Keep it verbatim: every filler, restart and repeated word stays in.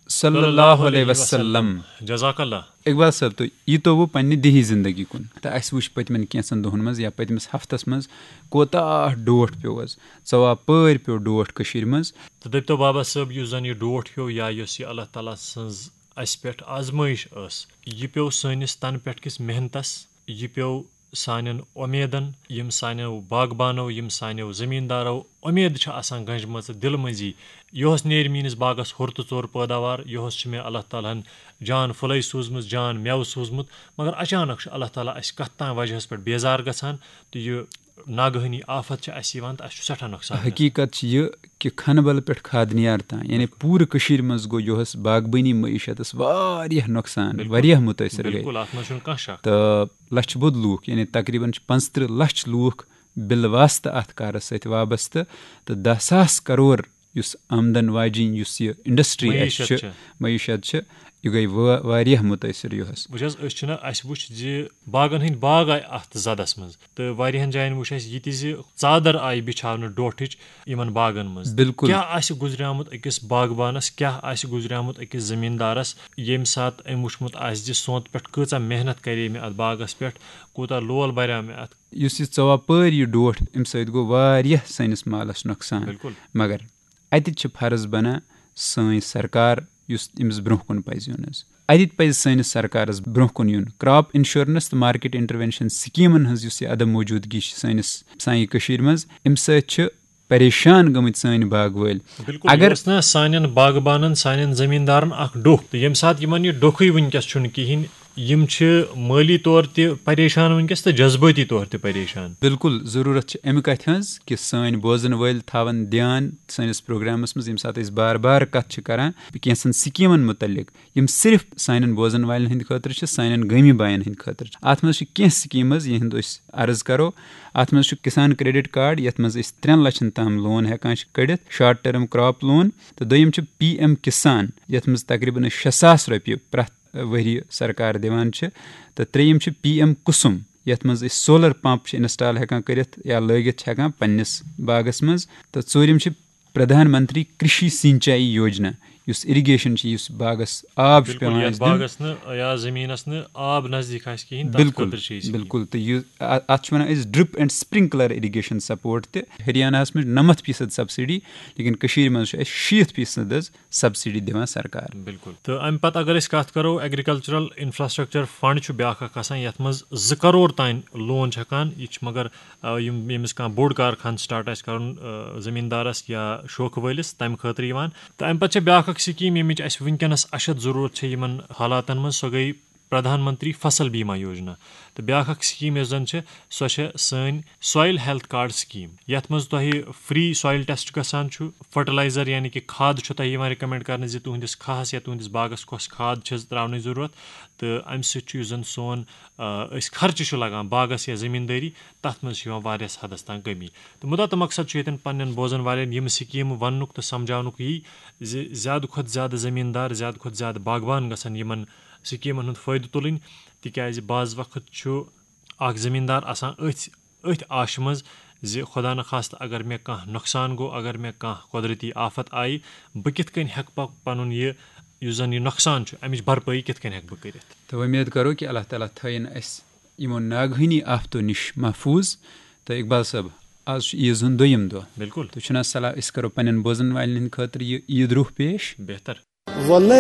صلی اللہ علیہ وسلم۔ جزاک اللہ۔ اقبال صٲب، تُہۍ ییٖتو وۄنۍ پننہِ دیہی زندگی کُن تہٕ اَسہِ وٕچھ پٔتمٮ۪ن کینٛژن دۄہن منٛز یا پٔتمِس ہفتس منٛز کوتاہ ڈوٹھ پیوٚو حظ، ژواپٲرۍ پیوٚو ڈوٹھ کٔشیٖرِ منٛز۔ تہٕ دٔپتو بابا صٲب، یُس زن یہِ ڈوٹھ پیوٚو یا یۄس یہِ اللہ تعالیٰ سٕنٛز اَسہِ پٮ۪ٹھ آزمٲیش ٲس، یہِ پیوٚو سٲنِس تَنہٕ پٮ۪ٹھ کِس محنتس، یہِ پیوٚو سانٮ۪ن اُمیدن، یِم سانیو باغبانو، یِم سانیو زٔمیٖندارو اُمید چھِ آسان گنٛجمژٕ دِلہٕ مٔنٛزی، یۄہس نیرِ میٛٲنِس باغس ہُر تہٕ ژوٚر پٲداوار، یۄہس چھِ مےٚ اللہ تعالیٰ ہن جان پھُلے سوٗزمٕژ، جان مٮ۪وٕ سوٗزمُت، مگر اچانک چھُ اللہ تعالیٰ اَسہِ کتھ تام وجہس پٮ۪ٹھ بیزار گژھان تہٕ یہِ ناگہٲنی آفت چھِ اَسہِ یِوان تہٕ اَسہِ چھُ سٮ۪ٹھاہ نۄقصان گژھان۔ حقیٖقت چھِ یہِ کہِ کھنہٕ بل پٮ۪ٹھ کھاد نِیار تام، یعنی پوٗرٕ کٔشیٖرِ منٛز گوٚو یۄہس باغبٲنی معیشتس واریاہ نۄقصان، واریاہ مُتٲثر گٔے۔ بِلکُل، اَتھ منٛز چھُنہٕ کانٛہہ شک۔ تہٕ لچھِ بوٚد لوٗکھ، یعنی تقریباً چھِ پانٛژترٕٛہ لچھ لوٗکھ بالواسطہٕ اَتھ کارَس سۭتۍ وابستہٕ، تہٕ دَہ ساس کرور یُس آمدن واجِنۍ یُس یہِ انڈسٹری اَسہِ معیشت چھِ، چھِ۔ معیشت چھِ، یہِ گٔے وا-، واریاہ مُتٲثر یۄہس۔ وٕچھ حظ، أسۍ چھِنہ، اَسہِ وٕچھ زِ باغن ہٕنٛدۍ باغ آے اَتھ زَدَس منٛز، تہٕ واریاہَن جایَن وٕچھ اَسہِ یہِ تہِ زِ ژادر آیہِ بِچھاونہٕ ڈوٹھٕچ یِمَن باغَن منٛز۔ بِلکُل۔ کیٛاہ آسہِ گُزریومُت أکِس باغبانَس، کیٛاہ آسہِ گُزریومُت أکِس زٔمیٖندارَس، ییٚمہِ ساتہٕ أمۍ وٕچھمُت آسہِ زِ سونٛتہٕ پٮ۪ٹھ کۭژاہ محنت کَرے مےٚ اَتھ باغَس پٮ۪ٹھ، کوٗتاہ لول بَریو مےٚ اَتھ۔ یُس یہِ ژواپٲرۍ یہِ ڈوٹھ، اَمہِ سۭتۍ گوٚو واریاہ سٲنِس مالَس نۄقصان۔ بِلکُل۔ مگر اَتہِ چھِ فرض بنان سٲنۍ سرکار یُس أمِس برٛونٛہہ کُن پَزِ یُن حظ۔ اَتہِ پَزِ سٲنِس سرکارَس برٛونٛہہ کُن یُن۔ کرٛاپ انشورنس تہٕ مارکیٹ انٹروینشن سکیٖمَن ہٕنٛز یُس یہِ عدم موجودگی چھِ سٲنِس سانہِ کٔشیٖرِ منٛز، اَمہِ سۭتۍ چھِ پریشان گٔمٕتۍ سٲنۍ باغ وٲلۍ۔ بِلکُل، اگر یہِ اوس نہ سانٮ۪ن باغبانن، سانٮ۪ن زٔمیٖندارن اکھ ڈوٚکھ، تہٕ ییٚمہِ ساتہٕ یِمن یہِ ڈوٚکھٕے وٕنکیٚس چھُنہٕ کِہینۍ، یِم چھِ مٲلی طور تہِ پریشان وٕنکیٚس تہٕ جذبٲتی طور تہِ پریشان۔ بِلکُل، ضروٗرت چھِ اَمہِ کَتھِ ہٕنٛز کہِ سٲنۍ بوزن وٲلۍ تھاون دیان سٲنِس پروگرامس منٛز، ییٚمہِ ساتہٕ أسۍ بار بار کَتھ چھِ کران کینٛژن سکیٖمن مُتعلق، یِم صرف سانٮ۪ن بوزن والٮ۪ن ہٕنٛدِ خٲطرٕ چھِ، سانٮ۪ن گٲمی باین ہٕنٛدِ خٲطرٕ چھِ۔ اَتھ منٛز چھِ کینٛہہ سکیٖمز، یِہُنٛد أسۍ عرض کرو۔ اَتھ منٛز چھُ کسان کریڈٹ کارڈ، یَتھ منٛز أسۍ ترٛٮ۪ن لَچھن تام لون ہٮ۪کان چھِ کٔڑِتھ، شارٹ ٹرم کرٛاپ لون، تہٕ دوٚیِم چھُ پی ایم کسان، یَتھ منٛز تقریباً أسۍ شےٚ ساس رۄپیہِ پرٛٮ۪تھ ؤریہِ سرکار دِوان چھِ، تہٕ ترٛیٚیِم چھُ پی ایم کُسُم، یَتھ منٛز أسۍ سولر پمپ چھِ انسٹال ہٮ۪کان کٔرِتھ یا لٲگِتھ چھِ ہٮ۪کان پننِس باغس منٛز، تہٕ ژوٗرِم چھِ پردھان منتری کرشی سینچائی یوجنا، یُس اریگیشن چھِ، یُس باغس آب چھُ بِلکُل، پٮ۪وان یَتھ اَسہِ دیُن۔ باغس نہٕ یا زٔمیٖنَس نہٕ آب نزدیٖک آسہِ کِہینۍ، تَتھ بِلکُل، خٲطرٕ چھِ أسۍ یہِ۔ بِلکُل۔ تہٕ یہِ، اَ-، اَتھ چھِ وَنان أسۍ ڈرپ اینڈ سپرنکلر اریگیشن سپورٹ تہِ۔ ہریاناہَس منٛز چھِ نَمَتھ فیٖصد سبسڈی، لیکن کٔشیٖرِ منٛز چھُ اَسہِ شیٖتھ فیٖصد حظ سبسڈی دِوان سرکار۔ بِلکُل۔ تہٕ اَمہِ پَتہٕ اگر أسۍ کَتھ کَرو، ایگریکلچرل انفراسٹرکچر فنڈ چھُ بیٛاکھ اکھ آسان، یَتھ منٛز زٕ کرور تام لون چھِ ہٮ۪کان، یہِ چھِ مگر، آ، یِم، ییٚمِس کانٛہہ بوٚڑ کارخانہٕ سٹارٹ آسہِ کَرُن، آ، زٔمیٖندارَس یا شوقہٕ وٲلِس، تَمہِ خٲطرٕ یِوان۔ تہٕ اَمہِ پَتہٕ چھےٚ بیٛاکھ اکھ سکیٖم، ییٚمِچ اَسہِ وٕنکیٚنَس اَشد ضروٗرت چھےٚ یِمن حالاتن منٛز، سۄ گٔے پردھان منتری فصل بیما یوجنا۔ تہٕ بیٛاکھ اکھ سکیٖم یۄس زن چھِ، سۄ چھےٚ سٲنۍ سویل ہیلتھ کارڈ سکیٖم، یَتھ منٛز تۄہہِ فری سویل ٹیسٹ گژھان چھُ، فرٹیلائزر یعنی کہِ کھاد چھُ تۄہہِ یِوان ریکمینڈ کرنہٕ زِ تُہنٛدِس کھاہَس یا تُہنٛدِس باغس کۄس کھاد چھِ تراونٕچ ضروٗرت، تہٕ اَمہِ سۭتۍ چھُ یُس زن سون، آ، أسۍ خرچہٕ چھُ لگان باغس یا زٔمیٖندٲری، تَتھ منٛز چھِ یِوان واریاہس حدس تام کٔمی۔ تہٕ مُدا تہٕ مقصد چھُ ییٚتٮ۪ن پننٮ۪ن بوزن والٮ۪ن یِم سکیٖمہٕ وننُک تہٕ سمجھاونُک یی زِ زیادٕ کھۄتہٕ زیادٕ زٔمیٖندار، زیادٕ کھۄتہٕ زیادٕ باغبان گژھن یِمن سکیٖمن ہُنٛد فٲیدٕ تُلٕنۍ، تِکیازِ بعض وقت چھُ اکھ زٔمیٖندار آسان أتھۍ، أتھۍ آشہِ منٛز زِ خۄدا نخواستہٕ اگر مےٚ کانٛہہ نۄقصان گوٚو، اگر مےٚ کانٛہہ قۄدرٔتی آفت آیہِ، بہٕ کِتھ کٔنۍ ہٮ۪کہٕ پَ-، پَنُن یہِ، یُس زَن یہِ نۄقصان چھُ، اَمِچ بھرپٲیی کِتھ کٔنۍ ہٮ۪کہٕ بہٕ کٔرِتھ؟ تہٕ وۄمید کرو کہِ اللہ تعالیٰ تھٲیِن اَسہِ یِمو ناگہٲنی آفتو نِش محفوٗظ۔ تہٕ اقبال صٲب، آز چھُ عیٖز ہُنٛد دوٚیِم دۄہ۔ بِلکُل۔ تُہۍ چھُو نہ صلاح، أسۍ کرو پننٮ۪ن بوزن والٮ۪ن ہٕنٛدِ خٲطرٕ یہِ عیٖد روح پیش؟ بہتر۔ وۄلے